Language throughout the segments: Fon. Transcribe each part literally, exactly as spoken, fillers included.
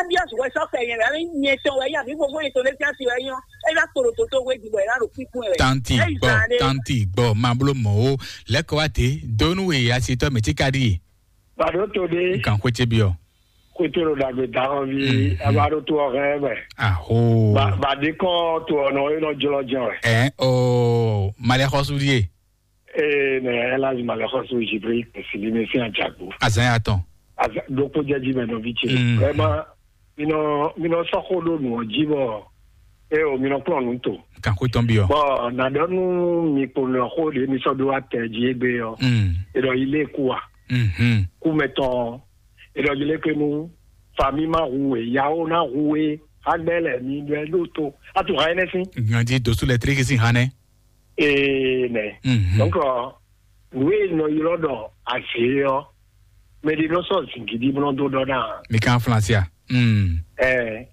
Biɔs wɛ sɔ kɛ nyɛ wɛ, nyɛ tɔn wɛ ya, mi fofo yetɔn lɛ fiasi wɛ nyɔ. E la kpolo toto wɛ di bɔ e la ɖo kpikpɔn wɛ. Tanti gbɔ, tanti gbɔ, ma blo mɔ o. Lɛkɔ wa te, donu we asitɔ mɛ ti ka di. Bado to de. Nkan ko ce biɔ. Ko to lo dagbe da hɔ vi, aba do to ɔ hɛ wɛ. Aho. Ba ba de kɔ to ɔ nɔ e nɔ jlɔ jɛ wɛ. Ɛ o, malɛ xɔsu die. Ee, ne Elhadji Malɛxɔsu Jibril Kɛsili ne sín ajagbo. Azan ya tɔn. Azan ɖokpó jɛ jí mɛ nɔví ce. Mm. Vraiment, mi nɔ mi nɔ sɔ́ xó ɖó nǔ ɔ́ jí bɔ, eo mi nɔ kplɔ́n nǔ to. Kan xó tɔn byɔ. Bɔn na ɖɔ nú mi kpo nɔ xó ɖě mi sɔ́ ɖó atɛ jí égbé ɔ́. Mm. E ɖɔ yi lé kú a? Mhm. Kú mɛ tɔn. E ɖɔ yi lé kpé nú fami ma hu e, yawo na hu e, agbɛ lɛ mi ɖɔ ɛ ɖó to. Atu hã ɛnɛ sín. Ganji dosu lɛ tiriki sin hã nɛ. Ee nɛ. Mhm. Donc, nǔ e nɔ ylɔ́ ɖɔ azě ɔ́, mɛ ɖé nɔ sɔ́ zǐngídi bó nɔ dó ɖɔ ná. Mi kan flasia. Mm. Ɛ,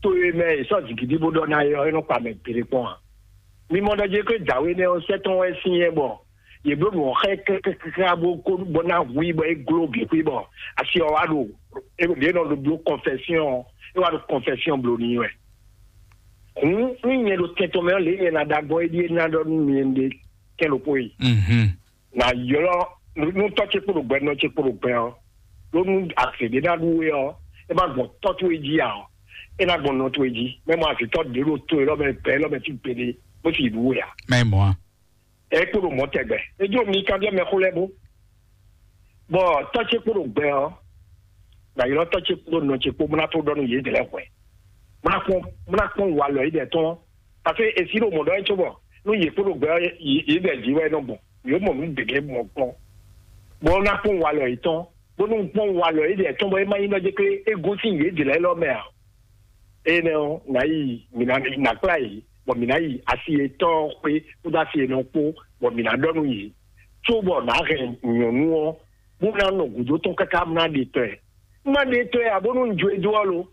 to e mɛ è sɔ́ zǐngídi bó ɖɔ ná é ɔ́, é nɔ kpa mɛ gbeɖé kpɔ́n a? Mi mɔ ɖɔ jɛ pé dǎwe nɛ́ ɔ́ sɛ́ tɔn wɛ sín yɛ bɔ yě bló nǔ ɔ́ xá ɛ kákáká bó kó bó ná hu i bɔ é gló bǐ xwí bɔ asi ɔ́ wá ɖo é ɖě nɔ ɖo bló kɔnfɛsyɔn ɔ́, é wá ɖo kɔnfɛsyɔn bló n'i wɛ. Hǔn nú nyɛ ɖo tɛn tɔn mɛ ɔ́, lě nyɛ ná ɖa gbɔn é ɖíe ná ɖɔ nú mi ɖe kɛ́n ɖokpó yi. Mhm. Nǎ ylɔ́ nú tɔ́ ce kpo ɖo gbɛ, nɔ ce kpo ɖo gbɛ ɔ́, ɖó nú azě ɖé ná ɖu we ɔ́, é má gbɔn tɔ́ towe jí ǎ ɔ́, é ná gbɔn nɔ towe jí. Mɛ mɔ azǐtɔ́ ɖě ɖo to élɔ́ mɛ, gbɛ élɔ́ mɛ fí gbeɖé, bó sì ɖu we ǎ. Mɛ mɔ a? É kpo ɖo mɔ̌ tɛgbɛ. É jó mi kanbyɔ́ mɛxó lɛ́ɛ bó. Bɔ tɔ́ ce kpo ɖo gbɛ ɔ́, nǎ ylɔ́ tɔ́ ce kpo ɖo nɔ ce kpo, bó ná tó ɖɔ nú yědɛɛ lɛ́ɛ hwɛ̌. Bó ná kpɔ́n bó ná kpɔ́n walɔ yědɛɛ tɔn. Parce que è sí ɖo mɔ̌ ɖɔ é cóbɔ nú yě kpo ɖo gbɛ ɔ́, yě bɛ jǐ wɛ é nɔ gbɔn. Yě mɔ nǔ gěgé mɔ kpɔ́n. Bɔ é ná kpɔ́n walɔ yětɔn, bónú kpɔ́n walɔ yědɛɛ tɔn bɔ é má nyí nɔ jɛ pé é gosín yě dě lɛ́ɛ lɔ mɛ ǎ. Énɛ́ ɔ́, nǎ yi mǐ ná nǎ kplá yě, bɔ mǐ ná yi asi yětɔn xwé kpódó asi yěnɔ kpó, bɔ mǐ ná ɖɔ nú yě, cóbɔ nǎ hɛn nyɔ̌nu ɔ́, bó ná nɔ gǔdo tɔn káká bó ná ɖe tɔ́ ɛ. Un má ɖe tɔ́ ɛ ǎ, bónú un jó e dó ɔ́ lo,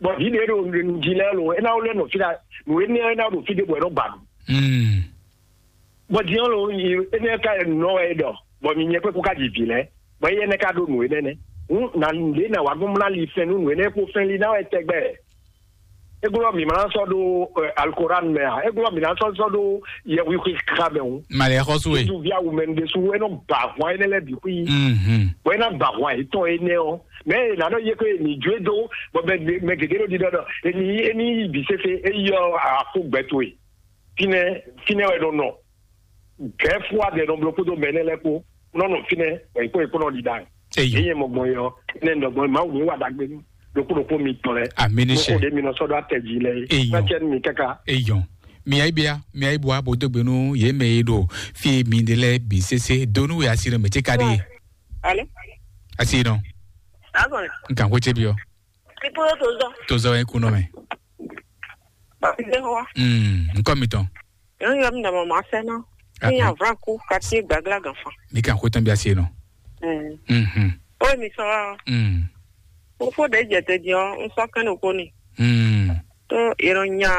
bɔ vǐ ɖě ɖo nǔ jí lɛ́ɛ lo, é ná wlɛ́ nɔ fí ɖa nǔ énɛ́ ɔ́ é ná ɖo fí ɖěbǔ wɛ é nɔ ba nǔ. Mm. Bɔ din ɔ́ lo, énɛ́ ɔ́ ka nɔ wɛ é ɖɔ, bɔ mi nyɛ kpɛ́ kú ka ji vǐ lɛ́ɛ, bɔ éyɛ́ nɛ́ ka ɖó nǔ énɛ́ nɛ́. Hǔn nǎ ɖě nǎ wá gbɔn mlá li fɛn nú nǔ énɛ́ kpo fɛn li ná wɛ tɛgbɛ. É glɔ́ mǐ ma ná sɔ́ ɖó alukóran mɛ ǎ, é glɔ́ mǐ ná sɔ́ sɔ́ ɖó yɛhwixwe xa mɛ hǔn. Malɛ xɔsu e. Ju via wumɛnu ɖésú é nɔ ba ahwan énɛ́ lɛ́ɛ bǐ xwí. Mhm. Bɔ é ná ba ahwan yětɔn énɛ́ ɔ́, mɛ e nǎ nɔ yé ko e mǐ jó e dó, bɔ mɛ gěgé ɖo ɖiɖɔ ɖɔ, eni eni yi bǐ sésé, é yi ɔ́, afó gbɛ towe. Fínɛ́ fínɛ́ wɛ nɔ nɔ. Gɛ̌ fú adɛ nɔ bló kpódó mɛ énɛ́ lɛ́ɛ kpó, nɔ nɔ fínɛ́, bɔ yě kpó yě kpó nɔ ɖi ɖa. Eyɔ. Yě nyɛ mɔ gbɔn yɔ, énɛ́ nɔ gbɔn Mawu ní wa ɖagbe nú ɖokpó ɖokpó mitɔn lɛ́ɛ. Amínísɛ. Mo xo ɖě mi nɔ sɔ́ ɖó atɛ jí lɛ́ɛ é. Eyɔ. Má cɛ nú mi káká. Eyɔ. Mi ayi bia, mi ayi bua bo dó gbe nú yě mɛ e ɖo fí mi ɖe lɛ́ɛ bǐ sésé, dó nú we asi nɔ mɛ ce ka ɖe. Alo. Asi nɔ. Azɔn. Nkan ko ce biɔ. Kikúrú tó zɔ. Tó zɔ yín kú nɔ mɛ. Bàbá ìgbé wa. Mm, nkɔ mi tɔn. Yɔn yɔ mi dama ma fɛ na. Ah, ní ah. Avlan kú kati gbagla ganfan. Mi kan ko tɔn bi asi nɔ. Mm. Mhm. O mi sɔ wa. Mm. Fofo ɖe jɛ te di ɔ, n sɔ kɛn ɖo ko ni. Mm. To yɛrɛ nya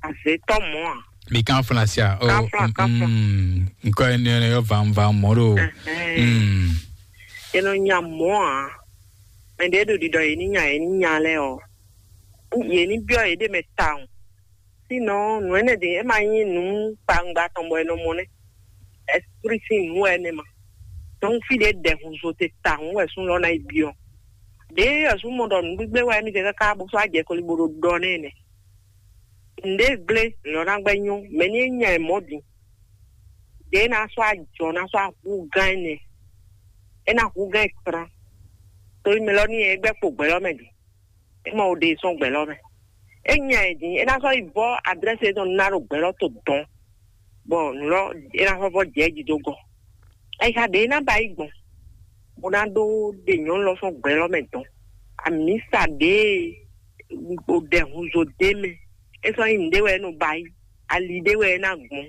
azé tɔ mɔ a. Mi kan flasia. Oh, kan fla, kan fla. Mm, nkɔ ni ne yo van van moro. Mm. Yɛrɛ nya mɔ a. Mɛ ɖe ɖo ɖiɖɔ yɛ ni nya yɛ ni nya lɛ ɔ. Yɛ ni biɔ yɛ ɖe mɛ tawun. Sinɔ nǔ énɛ́ ɖě é ma nyí nǔ kpawungba tɔn bɔ è nɔ mɔ nɛ́. Ɛsprí sín nǔ wɛ énɛ́ ma. Dɔnku fí ɖě ɖɛhunzo te tawun wɛ sún lɔ ná yi byɔ́. Ɖěe ɔ́ sún mɔ ɖɔ nǔgbígbé wɛ émí ɖe káká bó sɔ́ ajɛ koli bó ɖo ɖɔ nɛ́ nɛ́. Nǔɖé gblé lɔ ná gbɛ́ nyɔ́, mɛ ní é nya ɛ mɔ̌ din. Ɖěe ná sɔ́ ajɔ ná sɔ́ ahú gán énɛ́. É ná hú gán ɛ kplá. Tóli mɛ lɔ ní é gbɛ́ kpo gbɛ̌ lɔ mɛ din. É mɔ wo ɖe sɔ́ gbɛ̌ lɔ mɛ. É nya ɛ din, é ná sɔ́ yi vɔ́ adrɛ́si e nɔ ná ɖo gbɛ̌ lɔ to dɔn, bɔ nǔ lɔ é ná sɔ́ vɔ́ jɛ jí dó gɔ́. Ayixa ɖě é ná ba yi gbɔn, bó ná ɖó ɖe nyɔ̌nu lɔ sɔ́ gbɛ̌ lɔ mɛ dɔn. Amǐsa ɖě e ɖɛhunzo ɖé mɛ, é sɔ́ nyí nǔɖé wɛ é nɔ ba yi, ali ɖé wɛ é ná gbɔn,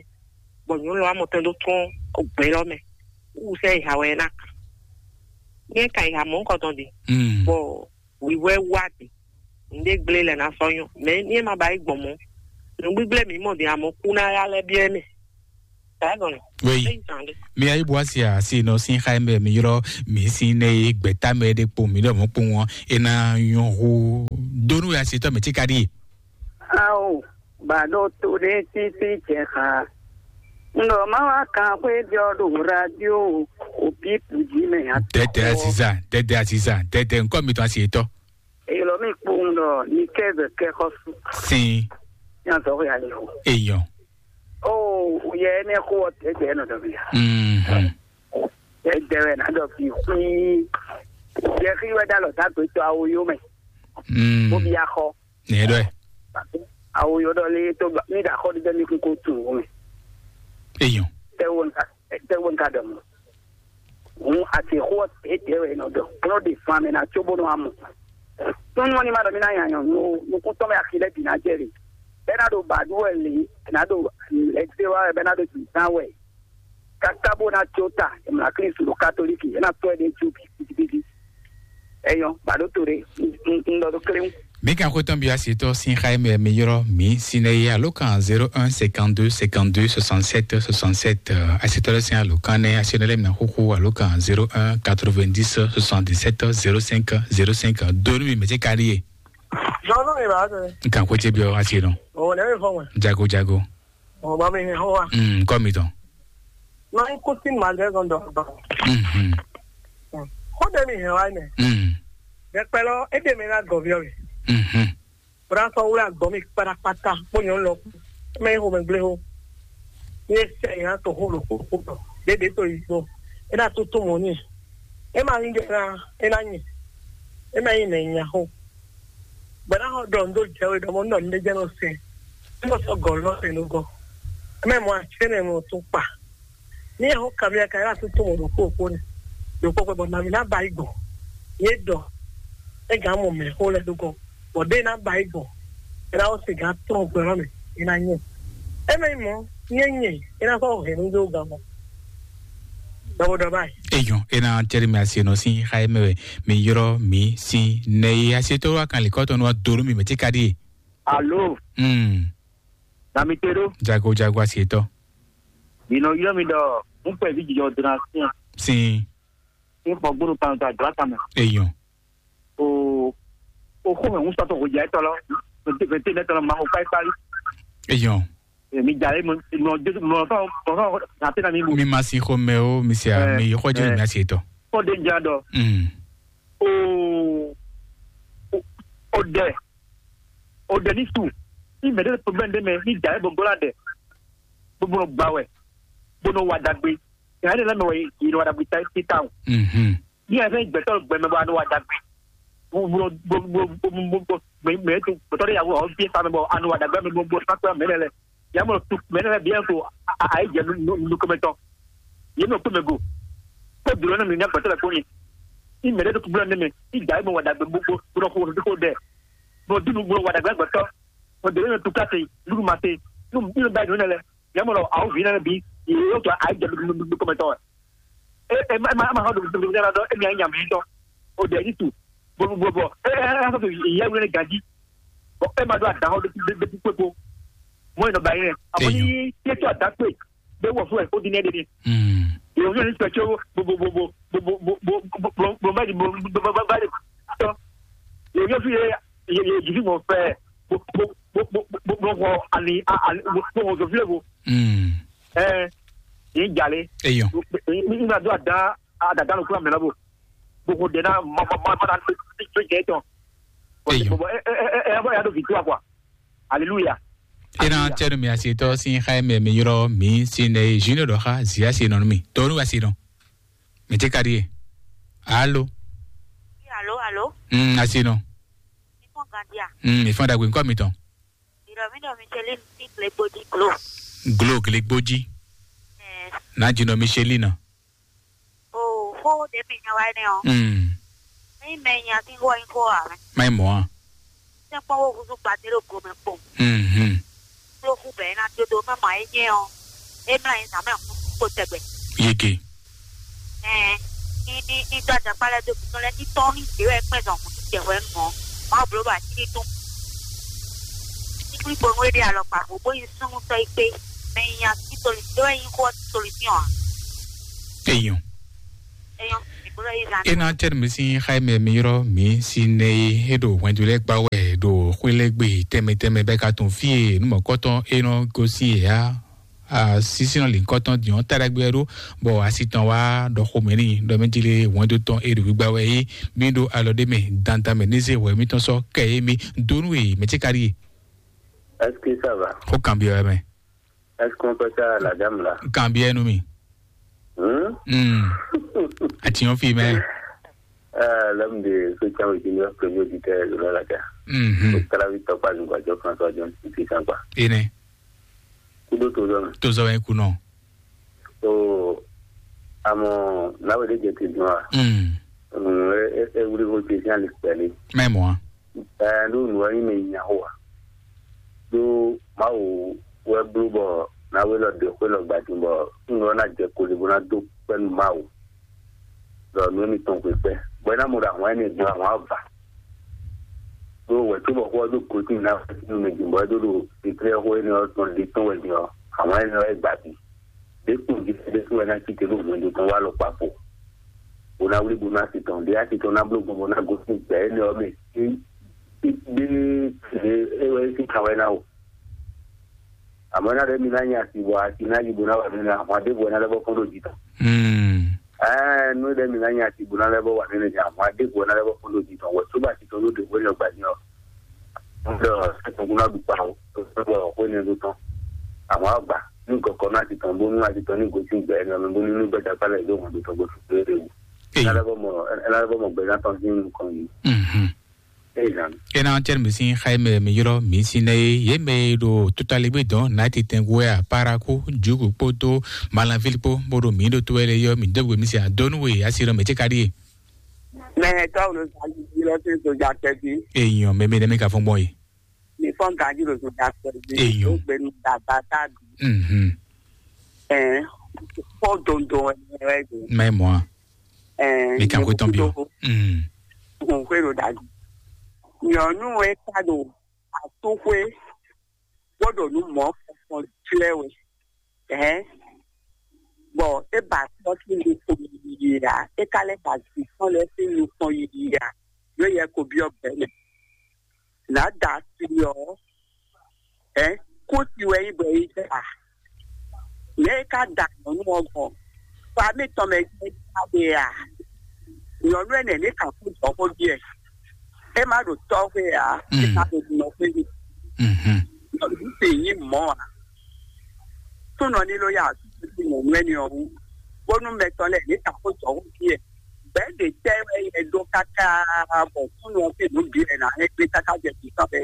bɔ nyɔ̌nu lɔ wá mɔ tɛn dó tɔ́n gbɛ̌ lɔ mɛ. Wú sɛ́ ayixa wɛ é ná kan. Nyɛ kan ayixa mɔ̌hunkɔtɔn din, bɔ wǐwɛ́ wá din. Nǔɖé gblé lɛ ná sɔ́ nyɔ́. Mɛ ní é ma ba yi gbɔn mɔ̌. Nǔgbígblé mǐ mɔ din, amɔ̌ kú ná yá lɛ́ byɔ́ mɛ. Wei. Mi ayi bu asi asi nɔ sin xa mɛ mi yrɔ mi sin ne gbɛta mɛ de kpo mi ɖɔ mɔ kpo ŋɔ ena nyɔ hu donu ya si tɔ mɛ tika di. Ao, ba ɖo to ɖe titi cɛ xa. Ŋdɔ ma wa kan xwe jɔ ɖo radio o pipu ji mɛ ya. Tɛtɛ asiza, tɛtɛ asiza, tɛtɛ nkɔ mi tɔn asi etɔ. Eyɔlɔ mi kpowun ɖɔ ni kɛ bɛ kɛ xɔ su. Sin. Yan sɔ ya yɔ. Eyɔn. O yɛ ne xo tɛtɛ nɔ dɔ bi. Mhm. Tɛtɛ wɛ na dɔ bi kui. Yɛ xi wɛ da lɔ da gbe to awo yo mɛ. Mm. Bo bi axɔ. Ne dɔ. Awo yo dɔ le to ba mi da xɔ de mi kun ko tu wo mɛ. Eyɔn. Tɛ wo nka tɛ wo nka dɔ mɔ. Hun ati xo tɛtɛ wɛ nɔ dɔ. Kplɔ de fan mɛ na tso bo nɔ amɔ. Tɔn ni ma dɔ mi na nya nyɔ nu nukun tɔn mɛ axi lɛ bi na jɛ le. Bɛ na do ba du wɛ le, na do lɛ se wa wɛ bɛ na do ju zan wɛ. Kaka bó ná tso ta, è mlá Klísu ɖo katolíki, é ná tɔ́ ɛ ɖe jú bíbí. Ẹyọ, bàdó to ɖe, un ɖɔ ɖó kléwún. Mi kan xwetɔn bi asitɔ sin xa mɛ mi yrɔ mi sinɛ ye alo kan zéro un cinquante-deux cinquante-deux soixante-sept soixante-sept asitɔ lɛ sin alo kan nɛ asinɛ lɛ mi na xuxu alo kan zéro un quatre-vingt-dix soixante-dix-sept zéro cinq zéro cinq donu mi mɛ ti ka ɖi ye. Zɔnnu mi b'a tɛ. N kan xwetɛ bi ɔ asi nɔ. O lɛ mi fɔ wɛ. Jago jago. Ɔ ba mi hɛn xɔ wa. Mm, kɔ mi tɔn. Nɔ yi kó sí màgẹ́gàn dɔ ba. Mhm. Xó ɖe mi hɛn wa nɛ. Mm. Ɖɛkpɛ lɔ, é ɖe mi ná gɔviɔ mi. Mhm. Bra sɔ wlé agbɔn mi kpatakpata kpó nyɔnu lɔ kú. Mɛ yi xomɛ gblé xó. Ní é sɛ yìí ná to xó ɖo xó xó tɔ. Ɖéɖé to yi gbɔ. É ná tó tó mɔ ní. É ma nyí ɖe ná, é ná nyi. É ma nyí nɛ nya xó. Bwana xɔ ɖɔ ndo jɛ we ɖɔ mɔ nɔ ne jɛ no se. Mo sɔ gɔ lɔ se no gɔ. Mɛ mo a se ne mo tun kpa. Ni ho kamia ka ya su to mo do ko ko ne. Do ko ko bɔ na mi na ba igbo. Ye dɔ. E ga mo me ho le do ko. Bɔ de na ba igbo. E na o se ga tɔn gbɛ me. E na nye. E me mo nye nye. E na ko he nu do ga mo. Dɔbɔ dɔbɔ ayi. Eyɔn, e na tɛri mi asi nɔ sin xa e mɛ wɛ mi yrɔ mi sin nɛ ye asi to wa kan likɔtɔ nɔ wa doro mi mɛ ti ka di. Alo. Hmm. Na mi te ɖo. Jago jago asi etɔ. Mi nɔ ylɔ́ mi ɖɔ un kpɛ vi jijɔ dona sin. Sin. N xɔ gbónú kan to àdúrà kan mɛ. Eyɔn. O o xó mɛ ń sɔtɔ xɔjà etɔ lɔ. Fɛnte fɛnte nɛtɔ lɔ ma xɔ kpáyí kpáyí. Eyɔn. Mi dza lé mɔ mɔ mɔ fɛn mɔ fɛn na te na mi bu. Mi ma sin xomɛ o mi se a mi xɔ jɛ mi asi etɔ. Kɔ de n jra dɔ. Hmm. O o o dɛ o dɛ ni su. Ni mɛ de problème de mɛ ni dza lé bɔ gbɔ la dɛ. Bɔ bɔ gba wɛ. Bɔ nɔ wa dagbe. Nya ne lɛ mɛ wɛ yi nɔ wa dagbe ta ti ta o. Mhm. Ní ẹ fẹ́ gbẹ̀tọ́ gbẹmẹ bá ní wà dàgbé. Gbogbo gbogbo gbogbo gbogbo gbẹmẹ tó gbẹtọ́ dé yàgò àwọn bí ẹ̀fà mi bọ̀ àná wà dàgbé mi gbogbo sápẹ́ mẹ́rẹ̀ lẹ. Yàmọ̀ tó mẹ́rẹ̀ lẹ bí ẹ̀ tó àyè jẹ nukúmẹ́tọ́. Yé mi ò kú mi gò. Kó dùrọ̀ náà mi ní agbẹ̀tọ́ lẹ kó ni. Ní mẹ́rẹ̀ tó kúbúrọ̀ ní mi. Ní ìjà yìí mo wà dàgbé gbogbo gbogbo kó o dúró dẹ̀. Mo dúró gbogbo wà dàgbé gbẹ̀tọ́. Mo dèrè mi tó káṣe lúrú ma ṣe. Nínú báyìí nínú lẹ. Yàmọ̀ lọ àwọn òbí náà bí. Yóò tó àyè jẹ nukúmẹ́tọ́. E e ma ma ma do do do do do e mi anya mi tɔ. O de ni tu. Bo bo bo. E e e so ye wele gaji. Bo e ma do ada ho de de de pe ko. Mo no ba yin. Amo ni ke to ada pe. Be wo fu e o di ne de ni. Mm. Yo yo ni pe cho bo bo bo bo bo bo bo bo bo bo bo bo bo bo bo bo. Yo yo fi ye ye ye ji fi mo fe. Bo bo bo bo bo bo ani ani bo bo bo fi le bo. Mm. Eh, ni jale. Eyɔn. Ni na do ada ada da lo kula mena bo. Bo ko de na ma ma ma ma na to je to. Eyɔn. Bo e e e e ya do victoire quoi. Alléluia. Ena tɛnu mi asi tɔ sin xa mɛ mi yɔrɔ mi sin ne junior dɔ xa zia si nɔ mi tɔnu asi nɔ. Mi te kari ye. Alo. Alo, alo. Mm, asi nɔ. Mi fɔn gandia. Mm, mi fɔn dagbe nkɔ mi tɔn. Ìrọ̀mí dọ̀ Micheline sí Glegbodí Glo. Glo Glegbodí. Ẹ̀. Ná jìnnà Micheline. O xó ɖě mi nya wá nɛ ɔ́. Mm. Ní mɛ nya tí wɔ nyí xó ǎ mɛ. Má nyí mɔ̌ ǎ. Sɛ́nkpɔ́n wó húzú gbadé ɖo gomɛ kpɔn. Mhm. Kpló hú bɛ̌ ná dó dó mɛ mɔ é nyɛ ɔ́. É mlá nyí zǎn mɛ kpó tɛgbɛ. Yege. Ɛɛ, ní ní ní dó ajakpá lɛ́ɛ dó gǔdo lɛ́ɛ ní tɔ́n ní dě wɛ kpɛ́n zɔn hǔn ní jɛ hwɛ nú mɔ̌. Mawu bló ɖo atílí tɔn. Ní kplí bonu é ɖe alɔkpa bó bó nyí súnnu tɔ́ é kpé. Mais il y a plus solution, il y a une grosse solution, hein. Eyɔn. Eyɔn, il faudrait y aller. E na tɛ mi si xa mɛ mi yɔrɔ mi si ne e do wɛndu lɛ gba wɛ do xwelɛgbe tɛmɛ tɛmɛ bɛ ka tun fie numɔkɔtɔn e nɔ gosi ya. Sisinɔ lǐnkɔtɔn diɔn taɖagbe wɛ ɖó, bɔ asi tɔn wá ɖɔ xomɛ n'i ɖɔ mɛ jile wɛndu tɔn e ɖo gbígbá wɛ é. Mi ɖo alɔ ɖé mɛ dandan mɛ ní zé wɛ mitɔn sɔ́ kɛ é mi dó nú e mɛ ce ka ɖíe. Est-ce que ça va? Xó kanbyɔ wɛ mɛ. Est-ce qu'on peut ça à la dame là? Kanbyɔ nú mi. Hmm? Hmm. Ati yɔn fi mɛ. Ah, l'homme de ce temps, je suis le premier auditeur de la Laka. Mhm. Au travail, t'as pas une voiture, François John, c'est puissant, quoi. Ene. Kudo tozɔ mɛ. Tozɔ mɛ kunɔ. So, àmọ́ láwé ɖé jɛ te dùn wa. Mm. Mm, e e e wuli ko te sin ali kpɛli. Mɛ mɔ. Ɛɛ, ɖo nǔ wɛ nyí mɛ nya xo wa. Ɖo Mawu wɛ bló bɔ náwé lɔ ɖe xwé lɔ gbadin bɔ nǔ lɔ ná jɛ koli bó ná dó kpɛ́ nú Mawu. Ɖɔ nǔ émítɔn xwe kpɛ́. Bɔ é ná mɔ ɖo ahwan énɛ́ din ahwan ɔ́ va. Ɖó wɛ̌ cóbɔ xó ɔ́ ɖo gosín ná wɛ sín nú mɛ din bɔ é ɖó ɖo Betlɛ́xó énɛ́ ɔ́ tɔn ɖe tɔn wɛ din ɔ́, ahwan énɛ́ ɔ́ é gbǎ bí. Ɖěkpun jí ɖésú wɛ ná cí te ɖo hwɛndo tɔn wá alɔkpa kpo. Bó ná wlí bó ná asi tɔn ɖé asi tɔn ná bló gbɔn bó ná gosín gbɛ énɛ́ ɔ́ mɛ. Ɖé é wɛ é sín kan wɛ ná o. Àmọ́ ná ɖé mi ná nyi asi bɔ asi ná yi bó ná wà nínú ahwan ɖěvo ná lɛ́ bɔ kɔn ɖo jǐ tɔn. Ɛɛ nú ɖé mi ná nyi asi bó ná lɛ́ bɔ wà nínú jǐ ahwan ɖěvo ná lɛ́ bɔ kɔn ɖo jǐ tɔn wɛ tó bá asi tɔn ló ɖe wé lɔ gbà ní ɔ. Ŋdɔ sɛkùn kún ná ɖu kpa o, tó bɔ xwé ní ɖó tɔn. Ahwan gbà ní kɔkɔ ná asi tɔn bó nú asi tɔn ní gosín gbɛ ní ɔmɛ bó ní nú gbɛdá kpálẹ̀ yóò hàn ɖo tɔn gbósù lóore wò. Ná lɛ́ bɔ mɔ ná lɛ́ bɔ mɔ gbɛdá tɔn sín nukɔn yìí. Mhm. Ezan. Ena tɛn mi sin xayi mɛ mi ylɔ mi sin nɛ ye ye mɛ ɖo totaligbé dɔn nati tɛngu wɛ aparaku jugu kpódó malanvili kpó bó ɖo mi ɖo to wɛ lɛ yɔ mi dɔgbe mi sin adɔnu we asi ɖɔ mɛ tse ka ɖi ye. Mɛ tɔw ɖo zali lɔ sí soja kɛbi. Eyɔn mɛ mi ɖe mi ka fɔn gbɔn ye. Mi fɔn ganji ɖo soja kɛbi. Eyɔn. Ó gbenu dagba ta bi. Mhm. Ɛn, fɔ dondo wɛ wɛ do. Mɛ mɔ a. Ɛɛ, mi kan xwe tɔn bi o. Mm. Xwe ɖo ɖaɖu. Nyɔnu e ka ɖo atúxwe bó ɖo nú mɔ̌ kɔkɔn jlɛ́ wɛ. Ɛɛ, bɔ é ba tɔ́ sín nukɔn yiyi ǎ, é ka lɛ́ ba vǐ tɔn lɛ́ɛ sín nukɔn yiyi ǎ, yǒ yɛ ko byɔ́ gbɛ̌ mɛ. Nǎ da asi ɔ́, ɛ̌, kú si wɛ nyí bɔ é jɛ a? Nɛ̌ é ka da nyɔ̌nu ɔ́ gbɔn? Xɔ mǐtɔn mɛ jɛ́n é jɛ ɖe a? Nyɔ̌nu énɛ́ ní kan kú jɔ̌xó ɖíe. É má ɖo tɔ́ xwé ǎ, é Mm. má ɖo nɔ xwé ní. Mhm. Nyɔ̌nu ce nyí mɔ̌ ǎ. Súnɔ ní ló yá asúsú sí nyɔ̌nu énɛ́ ɔ́ wú, bónú mɛ tɔn lɛ́ɛ ní kan kú jɔ̌xó ɖíe. Bɛ̌ ɖě tɛ́ wɛ yɛ ɖó káká bɔ súnnu ɔ́ sín nǔ bǐ wɛ ná hɛn gbé káká jɛ jǐ tɔn bɛ́.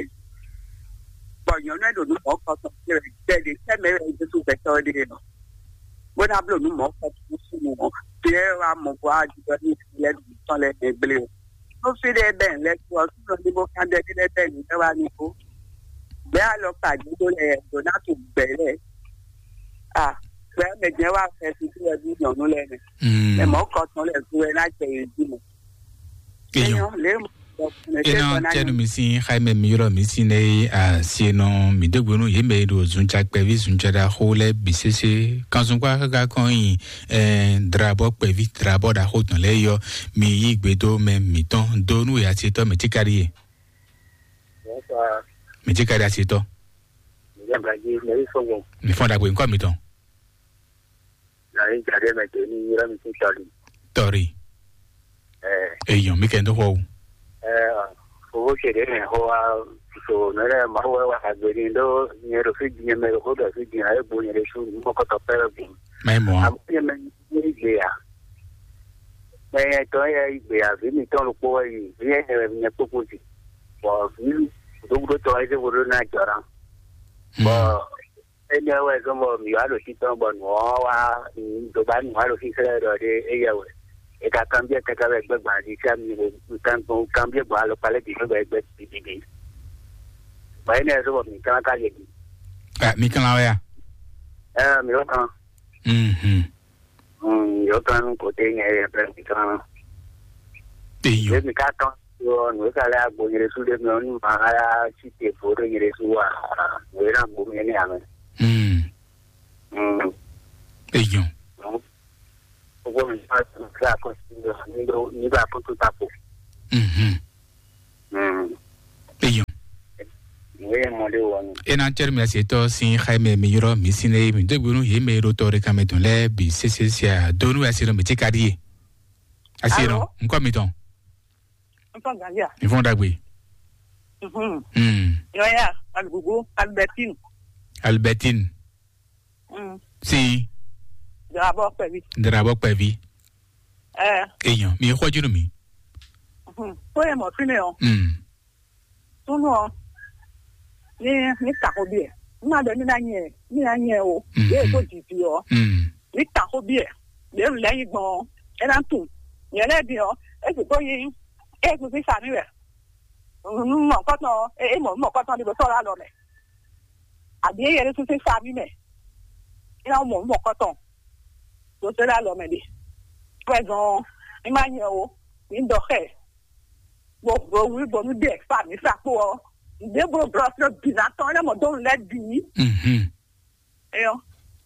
Bɔ nyɔ̌nu e ɖo nǔ mɔ̌kɔtɔn ce wɛ jɛ ɖě tɛ́ mɛ wɛ Jezu gbɛtɔ́ ɖe ɔ́, bó ná bló nǔ mɔ̌kɔtɔn nú súnnu ɔ́, bǐ wɛ wá mɔ bó wá ɖiɖɔ ní lɛ́ ɖo nǔ tɔn lɛ́ɛ mɛ gblé o. Nú fí ɖé bɛ́ lɛ́ kú ɔ́, súnnu ɔ́ ní bó kán ɖɛ́ ɖé lɛ́ bɛ́ nǔ lɛ́ wá ní kó. Bɛ̌ alɔkpa jǐ ɖó lɛ́ɛ ɖǒ ná tunwun gbɛ̌ lɛ́ɛ. A, gbɛ̌ mɛ jɛ́n wá fɛ susu wɛ bí nyɔ̌nu lɛ́ɛ mɛ. Mm. Mɛ mɔ̌ kɔtɔn lɛ́ɛ gu wɛ ná jɛ yě jí mɛ. Eyɔn. Eyɔn, lě mɔ. Ena tɛnu mi sin xayi mɛ mi ylɔ mi sin ne a sienɔ mi dégbe nú yě mɛ e ɖo zunca kpɛví zunca ɖaxó lɛ́ɛ bǐ sésé kanzungbá káká kɔn nyi ɛ drabɔ kpɛví drabɔ ɖaxó tɔn lɛ́ɛ yɔ mi yí gbe dó mɛ mǐtɔn dó nú e asietɔ mɛ tíkaɖi e. Bonsoir. Mɛ tíkaɖi asietɔ. Ǹjẹ́ Brazil, mɛ yí sɔ̀gbọ̀n. Mi fɔn ɖagbe ŋkɔ mitɔn. Nani jade mɛ te ni yɔrɔ mi sin tɔli. Tɔri. Ɛ. Eyɔn mi kɛ ndo xɔ o. Ɛ, owó ṣe ɖe mɛ xɔ wa so nɛrɛ ma wɛ wa agbe ni ɖo nyɛ ɖo fi di nyɛ mɛ ɖo xɔ ɖo fi di na egbo nyɛ ɖe su mɔ kɔtɔ pɛ ɖo bi. Mɛ mɔ. Amu nyɛ mɛ ni gbe ya. Mɛ yɛ tɔ yɛ gbe ya vi mi tɔn lo kpɔ wɛ yi vi yɛ nyɛ kpokpo di. Bɔ vi dogudo tɔ yɛ se wo ɖo na jɔra. Bɔ Énɛ́ wɛ zɔ́n bɔ mǐ wá ɖo títɔn bɔ nǔ ɔ́ wá dó ba nǔ wá ɖo xíxlɛ́ ɖɔ ɖé éyɛ́ wɛ. È ka kanbyɔ́ kɛkɛ wɛ gbɛ́ gbǎn jí fí ami kan kanbyɔ́ gbɔn alɔkpa lɛ́ɛ bǐ xwé bɔ é gbɛ́ bǐbíbí. Bɔ énɛ́ wɛ zɔ́n bɔ mǐ kán ka yɛ bǐ. Mi kán wɛ a? Ɛɛ, mǐ wá kan. Mhm. Yǒkan kò té nyɛ yɛ pɛ mi kan. Eyɔ. Ɖé mi ka tɔn yɔ nǔ e ka lɛ agbo nyɛ ɖésú ɖé mi ɔ́ ní ma ya sí te fo ɖé nyɛ ɖésú wa nǔ e ná gbo mi ní amɛ. Hmm. Mm. Èèyàn. Owó mi máa tún kí àkọsílẹ̀ nígbà nígbà kó tó tako. Mhm. Mm. Èèyàn. Ìwé yẹn mọ̀lẹ́ wọ̀ ni. E na cɛri mi ase tɔ sin xaime mi yɔrɔ mi sin ne mi degbe nu ye me ɖo tɔ ɖe kan mɛ tɔn lɛ bi sese sia donu ase nɔ mi ti ka di ye. Ase nɔ. Alo? Nkɔ mi tɔn. Nkɔ ganja. Nfɔn dagbe. Mhm. Mm. Yɔya, Alugugu, Albertine. Albertine. Mm. Si. Drabɔ kpɛvi. Drabɔ kpɛvi. Ɛ. Èèyàn mi xɔjú nù mí. Mhm. Tó yẹ mọ̀ fínlẹ̀ o. Mm. Súnú ọ. Ní ní tako bí ẹ. Ní ma bẹ ní ná nyẹ ní ná nyẹ o. Mhm. Yé tó dìdì ọ. Mm. Ní tako bí ẹ. Lè ń lẹ́yìn gbọ́n. Ẹ ná tù. Yẹn lẹ́dìí ọ. Ẹ sì tó yín. Ẹ sì fi sàmì rẹ̀. Mɔ̌kɔtɔn, e mɔ mɔ̌kɔtɔn ɖi ɖo tɔ́ lɔ alɔ mɛ. Abǐ e yɛ ɖésú sín sa mì mɛ. É ná mɔ mɔ̌kɔtɔn ɖo tɔ́ lɔ alɔ mɛ ɖe. Pɛzɔn, ní má nyɛ o, ní dɔ xɛ. Bɔ bɔ wí bɔ nú ɖe fa mǐ sa kpó ɔ. Ǹdé bó blɔ fún bǐ ná tɔn, é ná mɔ dó nǔ lɛ́ɛ bǐ. Mhm. Eyɔ,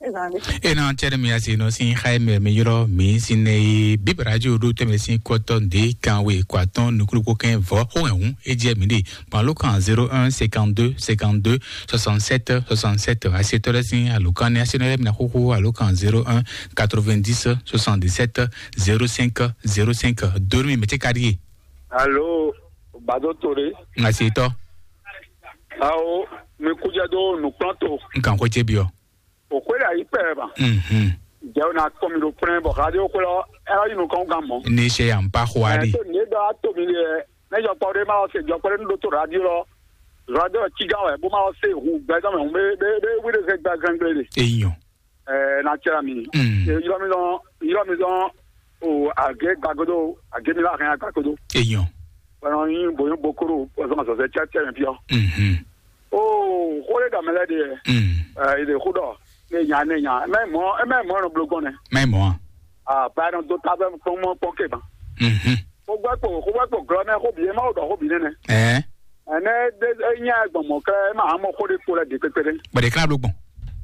ezan ɖe. E na cɛ ɖe mi asi nɔ sin xa mi mi yɔrɔ mi sin ne yi bibarajo ɖo tɛmɛ sin kɔtɔ nde kan we kɔ atɔn nukuluko kɛn vɔ xo hɛn hu e jɛ mi ɖe. Kpan ló kan zéro un cinquante-deux cinquante-deux soixante-sept soixante-sept. Asi tɔ ɖe sin alo kan ne asi nɔ ɖe mi na xoxo alo kan zéro un quatre-vingt-dix soixante-dix-sept zéro cinq zéro cinq. Donu mi mɛ ce ka ɖi ye. Alo, Bado Tore. Asi tɔ. Awo, mi kújɛ dó nǔkplɔ́n to. N kan xwé ce byɔ. O xwé ɖe ayi kpɛ ba. Mhm. Jɛ o na kpɔn mi ɖo kplɛn bɔ xadé o xwé lɔ, ɛ yi nukɔn gan mɔ. Ní ṣe yà ń pa xo a Ɛ ɖi. Tó ní dɔ a tó mi lɛ, ne jɔkpɔ ɖé ma lɔ se jɔkpɔ ɖé nu ɖó to radio lɔ, radio lɔ cigan wɛ bó ma lɔ se hu gbɛzɔn mɛ hu bɛ bɛ bɛ wí ɖe se gbɛzɔn gble ɖe. Eyɔn. Ɛ na cɛ mi. Mm. Yɔrɔ mi dɔn, yɔrɔ mi dɔn, o age gbagodo, age mi la hɛn gbagodo. Eyɔn. Bɔnɔ yin boyo bokoro, o sɔn sɔsɛ cɛ cɛ mi fiɔ. Mhm. Oo, xó ɖé ɖɔ mɛ lɛ́ɛ ɖe yɛ. Mm. Ɛ, yi ɖe xó ɖɔ, ne nya, ne nya. Mɛ mɔ, mɛ mɔ nɔ bló gbɔn nɛ. Mɛ mɔ. Ah, ba nɔ dó ta bɛ kpɔn mɔ kpɔn ke ban. Mhm. Xó gbɛ kpo, xó gbɛ kpo glɔ mɛ, xó bi, e ma wo ɖɔ xó bi nɛnɛ. Ɛ. Ɛnɛ ɖe e nya gbɔn mɔ kɛ, e ma mɔ xó ɖé kpo lɛ ɖe kpekpe ɖe. Bɛ ɖe kla bló gbɔn.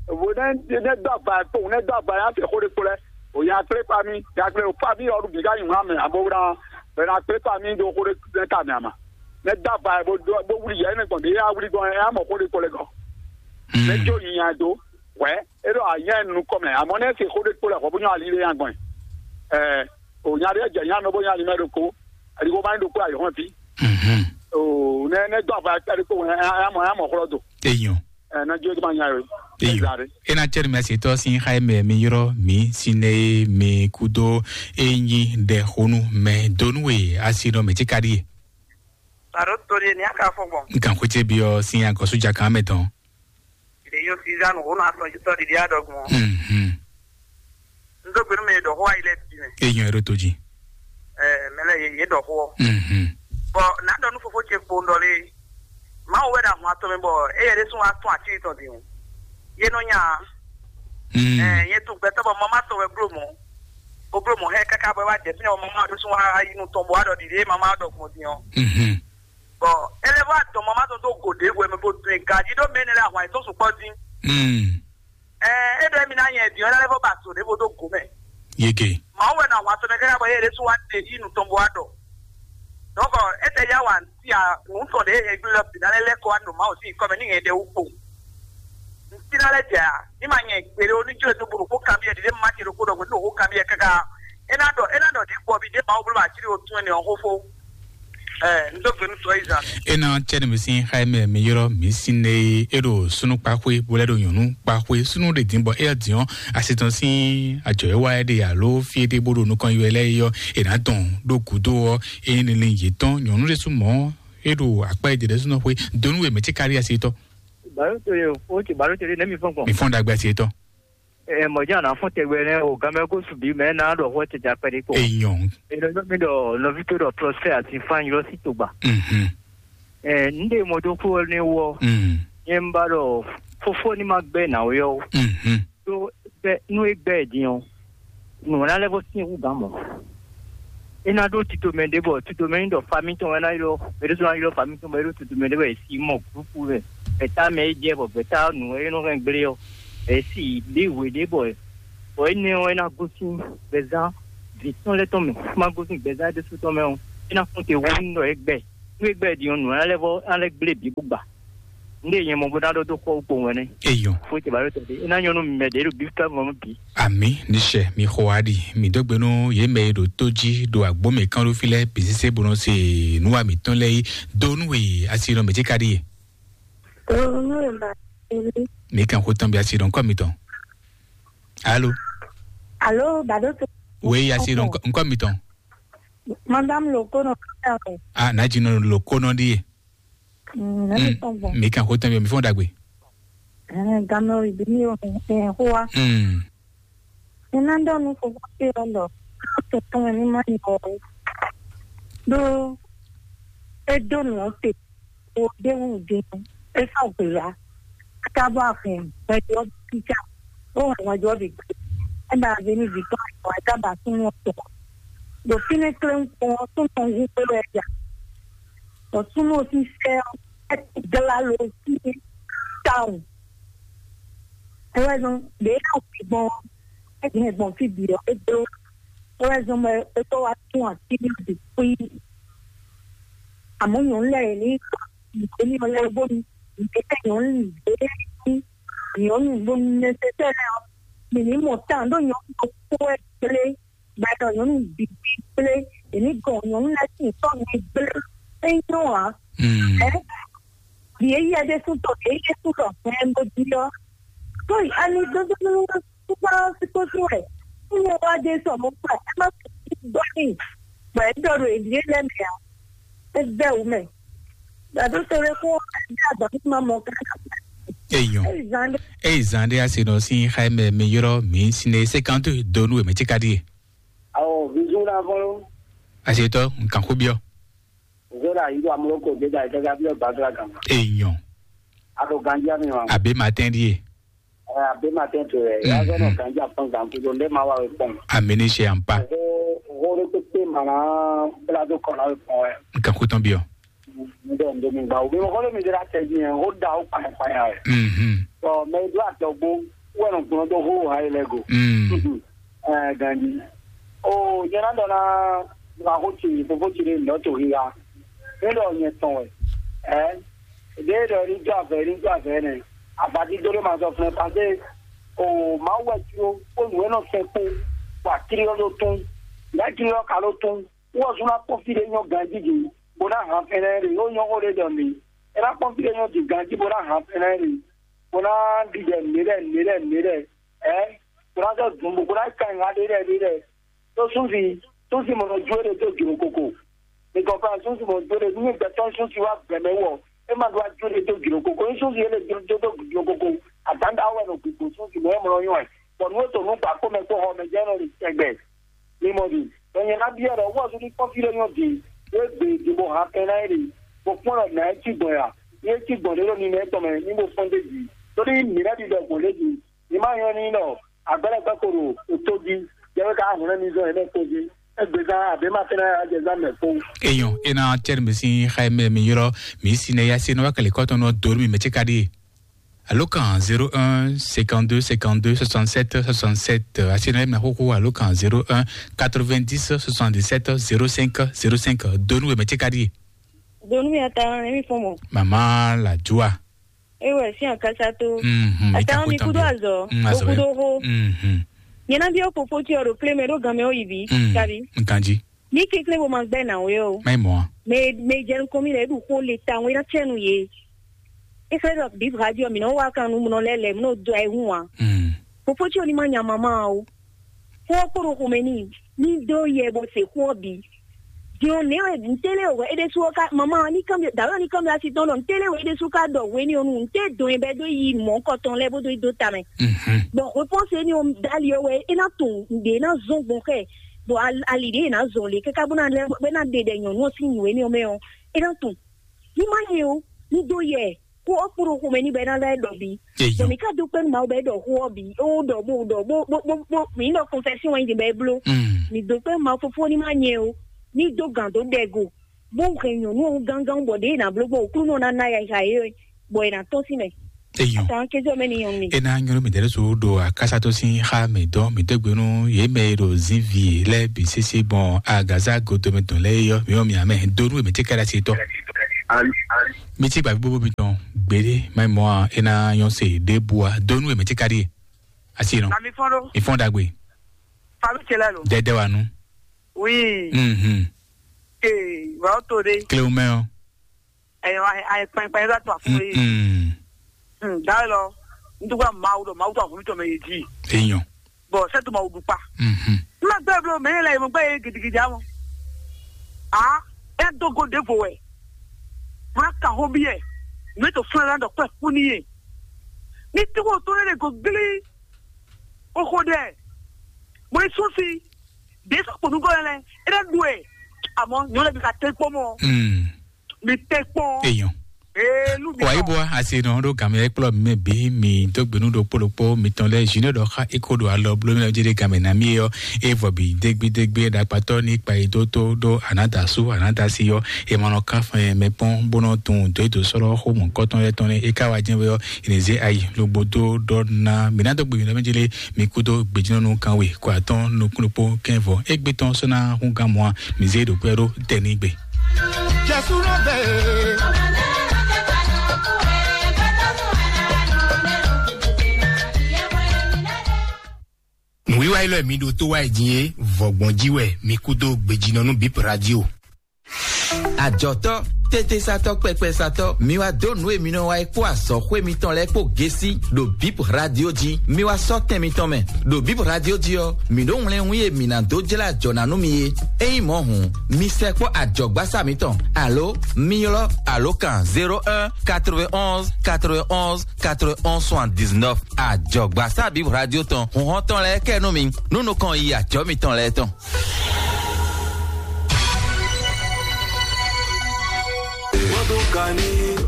Vo ne ne dó agba kpo, ne dó agba ya fɛ xó ɖé kpo lɛ. O ya kple pa mi, ya kple o pa mi ɔlu bi ka nyi mla mɛ abo wla. Bɛ na kple pa mi do xó ɖé ne ta mɛ ama. Ne dó agba bo do bo wuli yɛ ne gbɔn de ya wuli gbɔn ya mɔ xó ɖé kpo lɛ gɔ. Ne jo nyi ya do. Wɛ, e ɖo anya nu kɔ mɛ, amɔ ne se xó ɖé kpo lɛ xɔ bo nyɔ ali ɖé ya gbɔn. Ɛ, o nya ɖé jɛ nya nɔ bo nya ali mɛ ɖo ko. Ali ko ma ɖo ko ayi hɔn fi. Mhm. O ne ne dó agba ya kple ko ya mɔ ya mɔ xlɔ do. Eyɔn. Ɛ, na jɔ ma nya yo. Eyɔn. Ezare. E na cɛ mi asi tɔ sin xa mɛ mi yɔrɔ mi sin ne mi kudo enyi ɖe xonu mɛ donu we asi nɔ mɛ ti ka ɖi. Baro to ɖe ni aka fɔ gbɔn. N kan xwé ce byɔ sin agɔsu ja kan mɛ tɔn. Ɖe yo sizan wo na sɔn jitɔ ɖiɖi aɖɔgbɔn. Mhm. N dó gbenu mɛ ɖɔ xó ayi lɛ bi mɛ. Eyɔn ero to ji. Ɛ, mɛ lɛ ye ye ɖɔ xó. Mhm. Bɔ na ɖɔ nu fofo ce kpo n ɖɔ le. Mawu wɛ ɖo ahun atɔn mɛ bɔ eye ɖe sún wa tún atíri tɔn din o. Ye nɔ nya. Mm. Ɛ, ye tún gbɛtɔ bɔ mama tɔn wɛ blo mɔ. O blo mɔ hɛ kaka bɔ wa jɛ fínɛ mama ɖo sún wa yi nu tɔn bɔ wa ɖɔ ɖiɖi mama ɖɔ gbɔn din o. Mhm. Bɔ ele wa dɔn mama tɔn do go ɖe wɛ mɛ bo dun gaji ɖo mɛ ne le ahun ayi tɔn sukpɔ din. Mm. Ɛ, e ɖɔ mi na nyɛ din o ele fɔ ba so ɖe bo do go mɛ. Yege. Mawu wɛ na wa tɔn mɛ kaka bɔ ye ɖe sún wa te yi nu tɔn bɔ wa ɖɔ. Donc, e tɛ ya wa ti a nu tɔn ɖe e gbe lɔ bi na lɛ lɛ kɔ wa no Mawu si kɔ mɛ ni nyɛ ɖe wu kpo. Ntina lɛ jɛ a, ni ma nyɛ gbere o ni jɔ to bolo ko kan bi ɛ de ma ti ro ko dɔ ko to ko kan bi ɛ kaka. E na dɔ, e na dɔ di kpɔ bi de ma wo bolo ma ti ro tun ne o ko fo. Ɛ, n do gbenu tɔ yi zan. E na cɛ ne mi sin xa mɛ mi yɔrɔ mi sin ne e ɖo sunu kpaxwe bo lɛ ɖo nyɔnu kpaxwe sunu de din bɔ e din ɔ asi tɔn sin adzɔ e wa e de alo fi e de bo ɖo nukɔn yi wɛ lɛ yɔ e na dɔn ɖo gudo ɔ e ne le yetɔn nyɔnu de sumɔ e ɖo akpa e de de sunɔ xwe donu e mɛ ti kari asi tɔ. Baro to ye o, o ti baro to ye ne mi fɔn kpɔn. Mi fɔn dagbe asi tɔ. Ɛ, mɔdé àná fún tɛgbɛ nɛ o, gamɛ kó subi mɛ náà ɖɔ hɔ tɛjà pɛɖi kpɔ. Eyɔn. Ɛ, lɔ mi ɖɔ nɔvi tó ɖɔ Prosper àti Fan yɔ sí tògbà. Mhm. Ɛ, n de mɔ dó kó ne wɔ. Mhm. Nyɛ n ba ɖɔ fofo ni ma gbɛ nà o yɔ. Mhm. Tó bɛ nú e gbɛ din ɔ, nù ná lɛ bɔ sí ewu gán mɔ. E na ɖó titomɛ ɖé bɔ titomɛ ní ɖɔ fami tɔn wɛ ná ylɔ, e ɖó sɔn ná ylɔ fami tɔn bɔ e ɖó titomɛ ɖé bɔ e si mɔ gurupu wɛ, gbɛtá mɛ e jɛ bɔ gbɛtá nù e nɔ hɛn gblé ɔ. Esi ɖi hwe ɖé bɔ bɔ énɛ́ ɔ́, é ná gosín gbɛzán vǐ tɔn lɛ́ɛ tɔn mɛ, má gosín gbɛzán ɖésú tɔn mɛ ɔ́, é ná kpɔ́n te wú nú ɖɔ é gbɛ. Nú é gbɛ ɖi ɔ́, nǔ ná lɛ́ vɔ ná lɛ́ gblé bǐ bó gba. Nú é nyɛ mɔ bó ná ɖɔ dó xɔ wú kpowun wɛnɛ. Eyɔn. Fó tɛ bá ɖo tɔ́ ɖé, é ná nyɔ́ nú mɛ ɖě ɖo bí ká mɔ bí. Àmì níṣẹ́ mi xɔ wá ɖi mi dó gbe nú yě mɛ e ɖo tó jí ɖo agbǒ mɛ kán ɖó fí lɛ́ɛ bǐ sésé bó nɔ se nǔ wa mǐtɔn lɛ́ɛ yí dó nú we asi nɔ mɛ ce ka ɖíe. Tó nú è bá mi. Mi kan xó tɔn bí asi nɔ nkɔ mitɔn. Alo. Alo, bado to. Oui, asi nɔ nkɔ mitɔn. Madame Loko nɔ. Ah, na ji nɔ Loko nɔ ɖíe. Mm, na mi tɔn gbɔn. Mi kan xó tɔn bí mi fɔn dagbe. Eh, gamɛ o ibi ni o, eh, xó wa. Mm. Nina ɖɔ nú fofo ce ɔ́ ɖɔ tɔn tɔn ní ma nyɔ ó. Ɖó é dó nǔ ɔ́ te, o ɖé wú din, é sɔ́ gbě wá. Káká bɔ a hɛn hwɛjɔ kíkà, ó hɛn hwɛjɔ bǐ gbé. É ba vé ní vǐ tɔn ayǐ wá, é ka ba súnnu ɔ́ tɔn. Ɖo fínɛ́ kléwún kpɔ́n ɔ́, súnnu ɔ́ hú kpé wɛ ja. Bɔ súnnu ɔ́ sín sɛ́ ɔ́, é glá lo sín tawun. É wɛ zɔ́n ɖě é ná wǔ gbɔn ɔ́, é hɛn gbɔn fí bǐ ɔ́, é bló. É wɛ zɔ́n bɔ é kó wá tún atín ɖě xwí. Amɔ̌ nyɔ̌nu lɛ́ɛ yě ní yě ní ɔ́ lɛ́ɛ bónú yě tɛ nyɔ̌nu lɛ́ɛ ní nyɔ̌nu bónú nɛsɛsɛ lɛ́ɛ ɔ́, mǐ ní mɔ tán ɖó nyɔ̌nu ɖokpó wɛ gblé, gbadɔ nyɔ̌nu bǐ gblé, yě ní gɔn nyɔ̌nu lɛ́ɛ sín sɔ́ mi gblé. É nyɔ́ ǎ. Ɛ, ɖi e yɛ ɖésú tɔ, ɖi e yɛ sú tɔ hɛn bó jí ɔ́. Tó yi ani dódó súgbá síkósí wɛ. Súnmọ́ wá dé sɔ mo kpa ẹ má fi gbọ́ ní. Gbà ẹ́ dọ̀rọ̀ èdè lẹ́mìí à. Ẹ bẹ́ wù mẹ́. Gbàdó sọ̀rọ̀ kó ẹ bí àgbà tó máa mọ ká. Èèyàn. Ẹ zan dé. Èyí zan dé a se nɔ sí xá mɛ mi yɔrɔ mi si ne cinquante donu e mɛ tí ka di ye. Awo, bisou na fɔlɔ. A se tɔ nkan ko biɔ. Zora yi do amuloko de da ita ga biɔ gbadra gama. Èèyàn. A ko gandia mi wa. Àbí ma tẹ́ di ye. Ɛ, a bɛ ma tɛn to yɛ. Mhm. Ya zɔ nɔ ganja pɔn gan kudo ndé ma wa wɛ pɔn. Amini se ampa. Ho ho de kpekpe ma na bla do kɔnɔ wɛ pɔn wɛ. Nkan ko tɔn biɔ. Ndé ndé mi gba o. Mi mo kɔlé mi de la tɛ di yɛ. Ho da o kpanya kpanya wɛ. Mhm. Bɔn mɛ do atɔgbo wɛ nɔ gbɔn do ho ha yi lɛ go. Mm. Ɛ, ganji. O nyɛ na dɔ na ma ho ti fofo ti de ndɔ to hi ya. Ne dɔ nyɛ tɔn wɛ. Ɛ. Ɖěe ɖɔ é ní jó avɛ, é ní jó avɛ nɛ́. Abadídó ɖé ma zɔ flɛ́n kpán dé o Mawu wɛ jló kpó nǔ e nɔ sɛn kpó, bɔ akírí ɔ́ ɖó tún. Nɛ̌ akírí ɔ́ ka ɖó tún? Wú ɔ́ zún ná kpɔ́n fí ɖé nyɔ́ ganjí din, bó ná han fɛnɛ ɖe, ó nyɔ́ xó ɖé ɖɔ mǐ. É ná kpɔ́n fí ɖé nyɔ́ din ganjí, bó ná han fɛnɛ ɖe, bó ná ɖiɖɛ nǔɖé lɛ́ɛ, nǔɖé lɛ́ɛ, nǔɖé lɛ́ɛ. Ɛ, bó ná zɔ dun bó, bó ná ka nyi ŋa ɖé lɛ́ɛ, ɖé lɛ́ɛ. Tó súnsi, súnsi mɔ nɔ jó ɖe dó jlǒ koko. Mi kɔnplan súnsi mɔ jó ɖe, nú mi gbɛtɔ́ súnsi wá gbɛ mɛ wú ɔ́, é ma ɖó wá jó ɖe dó jlǒ koko. Ní súnsi é lè jó dó jlǒ koko, adǎndá wɛ nɔ gbǐgbó súnsi mɔ é mlɔ nyɔ ɛ. Bɔ nú é to nú gbǎ kpó mɛ kpó xɔ mɛ jɛ nɔ ɖi tɛgbɛ. Mi mɔ ɖi, bɔ nyɛ ná byɔ́ ɖɔ wú ɔ́ sú ní kpɔ́n fí ɖé nyɔ́ din, é gbe din bó han kɛn ná é ɖe, bó kpɔ́n ɖɔ nǎ é cí gbɔn ya, ní é cí gbɔn ɖé ɖo ninɛ tɔn mɛ, ní bó fɔ́n d'é jí. Tóní mǐ ná ɖi ɖɔ gbɔn ɖé jí, ní má nyɔ́ ní ɖɔ agbɛ́lɛ́gbɛ́ ko ɖo tó jí, jɛ wé ka hwlɛ́n mi zɔn yě mɛ kpó jí. Égbezán àbí má fɛ́nɛ ajɛzán mɛ kpó. Eyɔn, ena tɛri mi sin xayi mɛ mi yɔrɔ mi si ne ya se nɔ wa kɛlɛ kɔtɔn nɔ dori mi mɛ ce ka di. Alo kan zéro un cinquante-deux cinquante-deux soixante-sept soixante-sept. Asi na mi na xóxó alo kan zéro un quatre-vingt-dix soixante-dix-sept zéro cinq zéro cinq. Donu mɛ ce ka di. Donu mi ata mi fɔmɔ. Mama la joa. Ewe si akasa to. Mhm, ata mi kudo azɔ. Mm, azɔ. Kudo ho. Mhm. Nyɛ na bi o fofo ti o ɖo kle mɛ ɖo gan mɛ o yi bi. Mm. Kabi. Nkanji. Ní kékeré bó máa gbẹ́ nà wé o. Má yi mɔ̌ a? Mɛ mɛ jɛ nukɔn mi lɛ eɖu xó le ta wé ná tsɛ nu yé. Efɛ ɖɔ bíbí radio mi nɔ wá kan nu munɔ lɛ lɛ munɔ do ayi hun wa. Mm. Fofo tí o ní ma nya mama o. Fó kpóɖo xomɛ ní ní dó yɛ bó se xó ɔ́ bǐ. Din ɔ́ nɛ̌ wɛ ntélé wɛ é ɖésú ɔ́ ká mama ní kánbyɔ́ dǎwe ɔ́ ní kánbyɔ́ asi tɔn ɖɔ ntélé wɛ é ɖésú ká ɖɔ hwenu ɔ́ nu nté dɔn ɛ bɔ é dó yi mɔ̌ kɔtɔn lɛ́ɛ bó dó yi dó ta mɛ. Mhm. Bɔn hwepɔ́nse éní ɔ́ dali ɔ́ wɛ é ná tunwun nǔɖé é ná zɔ́n gbɔn xɛ bɔ ali ɖě è nǎ zɔn lě káká bó ná lɛ́ bó ná ɖe ɖɛ nyɔ̌nu ɔ́ sín nǔ énɛ́ ɔ́ mɛ ɔ́, é ná tunwun. Ní má nyɛ ó, ní dó yɛ kó ɔ́ kpóɖo xomɛ ní bɔ é ná lɛ́ ɖɔ bǐ. Bɔ mǐ ká dó kpɛ́ nú Mawu bɔ é ɖɔ xó ɔ́ bǐ, ó ɖɔ bó ɖɔ bó bó bó bó mǐ ɖɔ confession wɛ nyí bɔ é bló. Mǐ dó kpɛ́ nú Mawu fofó ní má nyɛ ó, ní dó gǎn dó ɖɛ go, bó hɛn nyɔ̌nu ɔ́ gángan bɔ ɖěe è nǎ bló gbɔn Aklúnɔ ná ná yɛ xa yě bɔ è nǎ tɔ́n sín mɛ. Eyɔn. Atan kejɔ mɛ ni yɔn mi. Ena nyɔnu mi dɛrɛ so ɖo akasa to sin xa mi dɔn mi dɔgbe nu ye mɛ ɖo zinvi lɛ bi sese gbɔn agaza godo mi tɔn lɛ yɔ mi yɔ mi amɛ donu mi ti kɛra si tɔ. Mi ti gba gbogbo mi tɔn gbede ma mɔ ena yɔn se de bua donu mi ti kari asi nɔ. Na mi fɔn ɖo. Mi fɔn dagbe. Fami cɛ lɛ lo. Dɛdɛ wa nu. Oui. Mhm. Ee, wa o to de. Kile o mɛ o. Ɛyɔ, ayɛ kpɛnkpɛn yɛ to afɔ yi. Mm. Hmm, da lɔ, n dúgbà Mawu ɖɔ Mawu tó àwọn mítɔn mɛ yé jí. Eyɔn. Bɔn sɛ tó Mawu dúpá. Mhm. Má gbé blo mɛ yẹn lɛ yẹn mo gbé yé gidigidi amɔ. A ɛ dó go ɖěvo wɛ. Má ka hó bí yɛ. Nú ètò fúnra lánàá dɔ̀kpẹ́ kú ní yé. Ní tí wọ́n tó lé go glí. Ó xó dɛ. Mo ní sún sí. Dé sɔkpɔnúgbɔ yẹn lɛ. É dá ɖu ɛ. Àmọ́ nyɔ̌ lɛ bí ka tẹ́ kpɔ́ mọ́. Mm. Mi tɛ kpɔn. Eyɔn. Ee, lu mi wa tɔn. Ibo ase nɔ ɖo game yɛ kplɔ mi mɛ bi mi dɔgbenu ɖo kpolokpo mi tɔn lɛ junior ɖɔ xa eko ɖo alɔ blo mi lɛ jɛ ɖe game na mi yɔ evɔ bi degbi degbi ɖakpatɔ ni kpa yi do to ɖo anadasu anadasi yɔ emanɔ kafɛ mɛ kpɔn bonɔ tun do edo sɔlɔ xo mɔ kɔtɔn yɛ tɔn ne eka wa jɛ yɔ enize ayi logbo do ɖɔ na mi na dɔgbe mi lɛ mi jɛ le mi kudo gbejinɔnu kan we kɔ atɔn nukun ɖokpo kɛnvɔ egbe tɔn sɔna hun gan mɔa mi ze ɖo kpɛ ɖo tɛnigbe. Nǔwiwa élɔ́ e mi ɖo tó wá yi din é, vɔ̌gbɔn jí wɛ mi kú dó gbejínɔ nú Bip Radio. Ajɔ̌tɔ́, tétésatɔ́, kpɛkpɛsatɔ́, mi wá dó nǔ e mi nɔ wa é kpó azɔ̌xwé mitɔn lɛ́ɛ kpó gésí ɖo Bip Radio jí. Mi wá sɔ́ tɛn mitɔn mɛ. Ɖo Bip Radio jí ɔ́, mǐ ɖo wlɛ́nwún e mǐ ná dó jlá ajɔ̌ ná nú mi é. Ényí mɔ̌ hǔn, mi sɛkpɔ́ ajɔ̌gbásá mitɔn, alo mi ylɔ́ alǒkan zéro un quatre-vingt-onze quatre-vingt-onze quatre-vingt-onze soixante-dix-neuf. Ajɔ̌gbásá Bip Radio tɔn, hǔnhɔ́n tɔn lɛ́ɛ kɛ nú mi, nú nukɔn yi ajɔ̌ mitɔn lɛ́ɛ tɔn.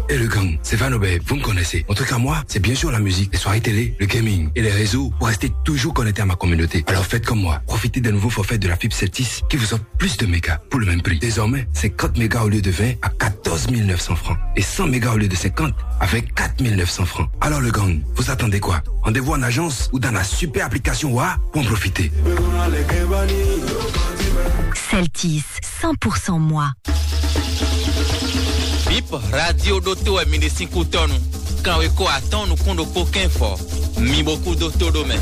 Et le gang, c'est Van Obey, vous me connaissez. En tout cas, moi, c'est bien sûr la musique, les soirées télé, le gaming et les réseaux pour rester toujours connecté à ma communauté. Alors faites comme moi, profitez d'un nouveau forfait de la fibre Celtis qui vous offre plus de mégas pour le même prix. Désormais, cinquante mégas au lieu de vingt à quatorze mille neuf cents francs et cent mégas au lieu de cinquante avec quatre mille neuf cents francs. Alors le gang, vous attendez quoi ? Rendez-vous en agence ou dans la super application Wa pour en profiter. Celtis, cent pour cent moi. Bip Radio ɖo to wɛ mi ɖe sín kú tɔnu. Kanwe ko atɔn nukún ɖokpó kɛnfɔ. Mi bo kú dó tó ɖó mɛ.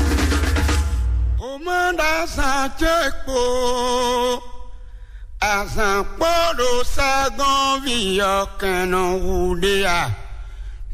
O ma ɖo azǎn ce kpo, azǎn kpo ɖo sɛ́gɔ́nví ɔ́ kɛn nɔ wu ɖe a?